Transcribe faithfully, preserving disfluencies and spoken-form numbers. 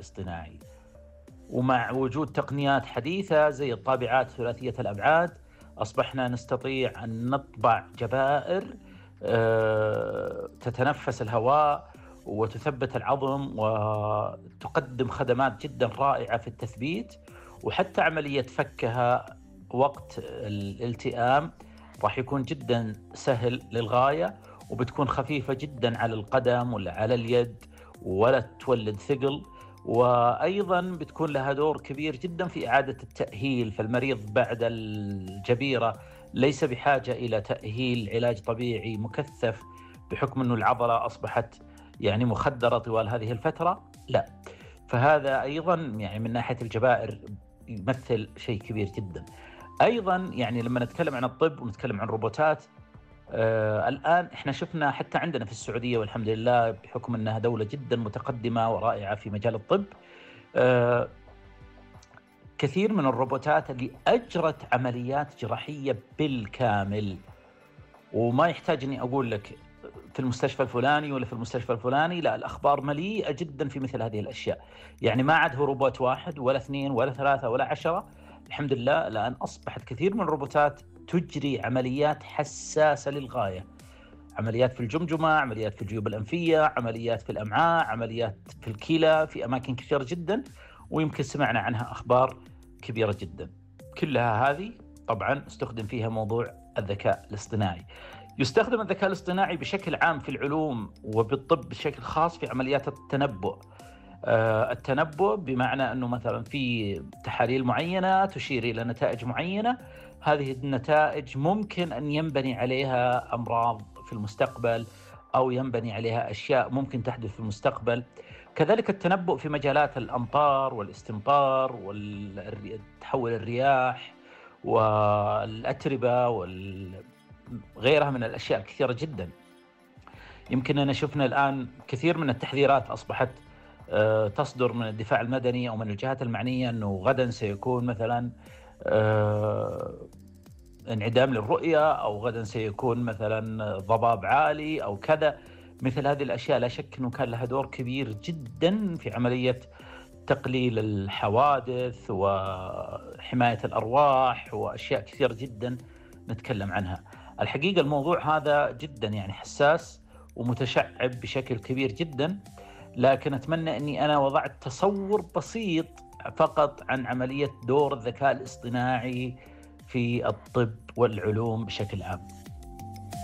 الاصطناعي. ومع وجود تقنيات حديثة زي الطابعات ثلاثية الأبعاد أصبحنا نستطيع أن نطبع جبائر تتنفس الهواء وتثبت العظم وتقدم خدمات جدا رائعة في التثبيت، وحتى عملية فكها وقت الالتئام راح يكون جدا سهل للغاية، وبتكون خفيفة جدا على القدم ولا على اليد ولا تولد ثقل. وأيضا بتكون لها دور كبير جدا في إعادة التأهيل، فالمريض بعد الجبيرة ليس بحاجة إلى تأهيل علاج طبيعي مكثف بحكم أنه العضلة أصبحت يعني مخدرة طوال هذه الفترة، لا. فهذا أيضا يعني من ناحية الجبائر يمثل شيء كبير جدا. أيضا يعني لما نتكلم عن الطب ونتكلم عن الروبوتات، آه الآن إحنا شفنا حتى عندنا في السعودية والحمد لله بحكم أنها دولة جدا متقدمة ورائعة في مجال الطب، آه كثير من الروبوتات اللي أجرت عمليات جراحية بالكامل، وما يحتاج أني أقول لك في المستشفى الفلاني ولا في المستشفى الفلاني، لا، الأخبار مليئة جدا في مثل هذه الأشياء. يعني ما عاد هو روبوت واحد ولا اثنين ولا ثلاثة ولا عشرة، الحمد لله، لأن أصبحت كثير من الروبوتات تجري عمليات حساسة للغاية، عمليات في الجمجمة، عمليات في الجيوب الأنفية، عمليات في الأمعاء، عمليات في الكلى، في أماكن كثيرة جدا، ويمكن سمعنا عنها أخبار كبيرة جدا. كلها هذه طبعا استخدم فيها موضوع الذكاء الاصطناعي. يستخدم الذكاء الاصطناعي بشكل عام في العلوم وبالطب بشكل خاص في عمليات التنبؤ. آه التنبؤ بمعنى أنه مثلا في تحاليل معينة تشير إلى نتائج معينة، هذه النتائج ممكن أن ينبني عليها أمراض في المستقبل أو ينبني عليها أشياء ممكن تحدث في المستقبل. كذلك التنبؤ في مجالات الأمطار والاستمطار وتحول الرياح والأتربة وغيرها من الأشياء الكثيرة جدا. يمكن أن شفنا الآن كثير من التحذيرات أصبحت تصدر من الدفاع المدني أو من الجهات المعنية أنه غدا سيكون مثلا انعدام للرؤية، أو غدا سيكون مثلا ضباب عالي أو كذا. مثل هذه الأشياء لا شك أنه كان لها دور كبير جدا في عملية تقليل الحوادث وحماية الأرواح وأشياء كثيرة جدا نتكلم عنها. الحقيقة الموضوع هذا جدا يعني حساس ومتشعب بشكل كبير جدا، لكن أتمنى أني أنا وضعت تصور بسيط فقط عن عملية دور الذكاء الاصطناعي في الطب والعلوم بشكل عام.